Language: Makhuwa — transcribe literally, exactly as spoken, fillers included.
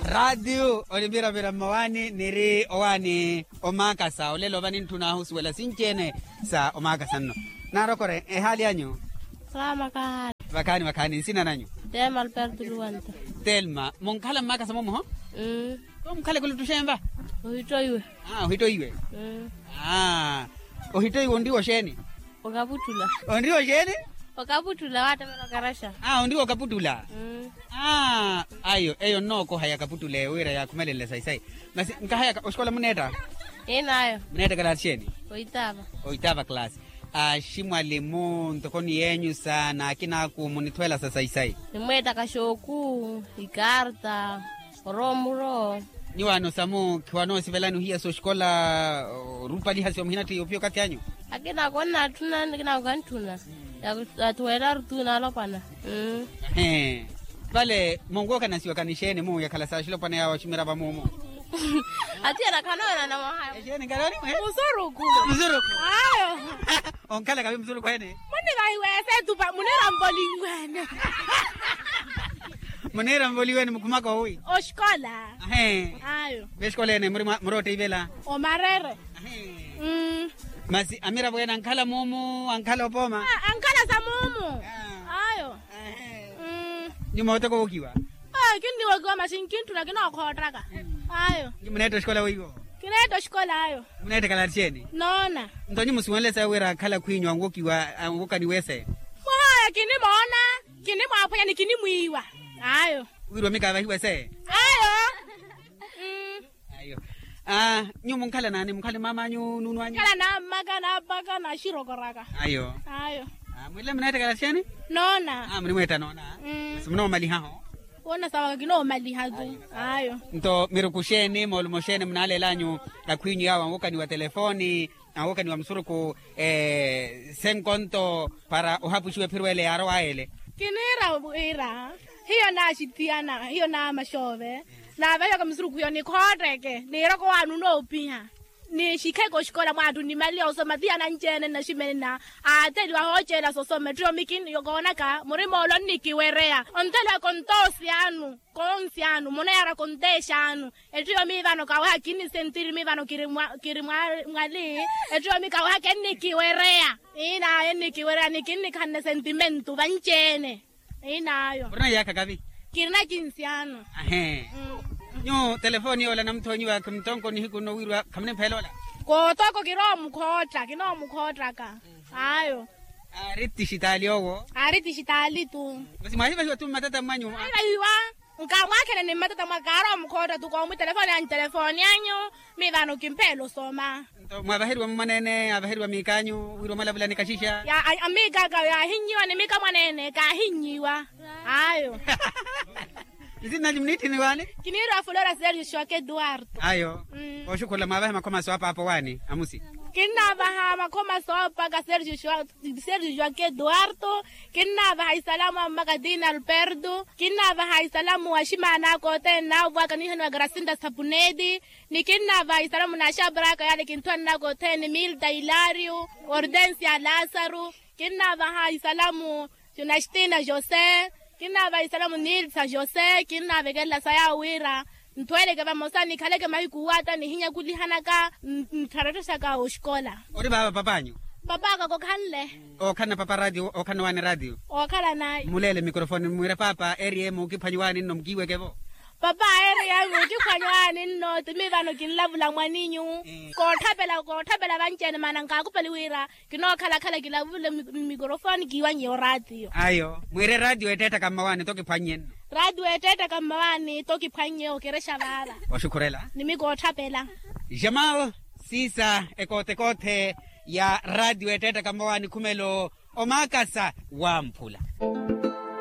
Raatiyo onipiravira mmawaani niri owaani omaakasa olelo va nintthun'ahu osuwela sinci-ene sa omaakasa nno. Naarokore ehaali anyu? Salaama kahaali. Vakhaani vakhaani nsina nanyu? Telma alberto luwanta. Telma munkhala mmaakasa momuho? Mmm. Koomukhale kuluttuxenva? Ohittoiwe. Aa ohittoiwe. Aa ohittoiwe onriwa oxeeni? Okaputtula. Onriwa oxeeni? Okaputtula waattamela okaraxa. Aa onriwa okaputtula. Aa ayo eyo nnookohaya kaputtula eyo wira yaakhumelenle sayi sayi. Masi nkahayaka oxikola muneetta? Inayo. Muneetta kalaasi xeeni? Oitaava. Oitaava kalaasi. Aximwalimu ntoko ni yeenyu sa n'akinaaku munithuwela sa sayi sayi. Nimweettaka xooku, ikarta, oroomuro. Nyuwaano samu khiwanoosivelani ohiya s'oxikola orupaliha si omuhinatthi ophiya okathi anyu? Akinaako onnatthuna akinaako kantthuna. Athuwelaru tu naalopwana. Vale munwookanasiwakani xeeni mu yakhala sa axilopwana yaawo aximirava muumu? Atiyana khanoonana mwaha. Exeeni nkalooni mwe? Musurukhu. Musurukhu. Ayo. Onkhala kavi musurukhu ene? Munivahiwa esetupa muniramvoliwene. Muniramvoliwene mukhumaka owi? Oxikola. Ayo. Vexikola ene muri otteyivela? Omarere. Masi amiravo ene ankhala muumu ankhala opooma? Ankhala sa muumu. Ayo. Nyuma oteko wokiwa? Kinniwokiwa masi nkintthuna kinookhottaka. Ayo. Nyi muneetta oxikola weiwo? Kineetta oxikola ayo. Muneetta kalaati xeeni? Noona. Nto nyi musuwenle sayi wira akhala khwiinyu anwokiwa anwokaniwa ese? Mwahaya kinimoona, kinimwaaphwanya ni kinimwiiwa. Ayo. Wirwa mikaavahiwa ese? Ayo. Ayo. Nyuwo munkhala naani munkhala ni mamanyu nuunwanyu? Nkhala nammaka naapaka naxirokoraka. Ayo. Ayo. Mwile muneetta kalaati xeeni? Noona. Munimweetta noona. Masi munoomalihaho? Woona sawaka kinoomaliha tu. Ayo. Nto miruku xeeni moolumo xeeni munaalel'anyu akhwiinyu yaawo anwokaniwa telefoni anwokaniwa musurukhu senkonto para ohapuxiwa ephiro ele yaarowaya ele? Kiniira wira hiyo naaxithiyana hiyo naamaxoove. Naavahiwaka musurukhu hiyo nikhootteke niiroko waani onoopiha. Nixikheke oxikola mwaattu nimaliya osoma tiyana anci-ene nnaximene na aatheliwa ahooceela sosoma ettiyo mikini koonaka murima ole onnikiwereya ontheliwa kontoosi anu. Konsi anu munayaara konteexa anu. Ettiyo mii vano kaweha kinnisentiri mii vano kiri mwali. Ettiyo mii kaweha kennikiwereya. Iinayo ennikiwereya ni kinnikhanne sentimentu vanci-ene. Inaayo. Murina iyaakha kavi? Kirina kinsi ano. Ahee. Nyuwo telefoni yoola namuthoonyiwa khimuttonko nihiku nno wirwa khamunimphela ola? Kootoko kiroomukhootta kinoomukhoottaka. Ayo. Aari tixitaali owo? Aari tixitaali tu. Masi mwaahivahiwa tu mmatata mwanyu? Mwaahivahiwa. Nkaamwaakhele ni mmatata mwaka aaroomukhootta tu koomu telefoni anyu telefoni anyu. Mii vano kimpheela osoma. Nto mwaavaheriwa mumwaneene aavaheriwa miik'anyu wira omwalavulani kaxixa? Miik'aka yaahinnyiwa ni miik'amwaneene kaahinnyiwa. Ayo. Nsinanyu muniitthini waani? Kiniiriwa flora sergio joaquim eduardo. Ayo. Oxukhula mwaavahe makhoma soopa apo waani amusi? Kinnaavaha makhoma soopaka sergio joaquim eduardo. Kinnaavaha isalamu a mmaka tina alberto. Kinnaavaha isalamu wa ximaan'aka othene naavwaka niihaniwa gracinda sapuneti. Ni kinnaavaha isalamu na axapar'aka yaale kinthuwan'aka othene milta hilario, hortensia lasaru. Kinnaavaha isalamu junastina jose. Kinnaavaha isalamu nilsa jose kinnaavekelela sa yaawo wira nthuweleke vamosa nikhaleke mahiku waata nihinyakulihanaka nttharatthexaka oxikola. Ori vaava pap'anyu? Pap'aka kokhanle. Ookhanna papa ratio ookhanna waani ratio? Ookhalanayi. Muleele mikorofoni mwire papa eriye muukiphwanyi waani nno mukiiweke-vo. Papa eriye muukiphwanyi waani nno ti mii vano kinlavula mwaninyu. Kootthapela kootthapela vanci-ene maana nkaakupali wira kinookhalakhala kilavule mmikorofoni kiiwanye oraatiyo. Ayo mwire raatiyo ettettaka mmawaani tokiphwannye nno. Raatiyo ettettaka mmawaani tokiphwannye okerexa vaava. Oxukhurela. Nimikootthapela. Jamal siisa ekootekoothe ya raatiyo ettettaka mmawaani khumelo omaakasa wamphula.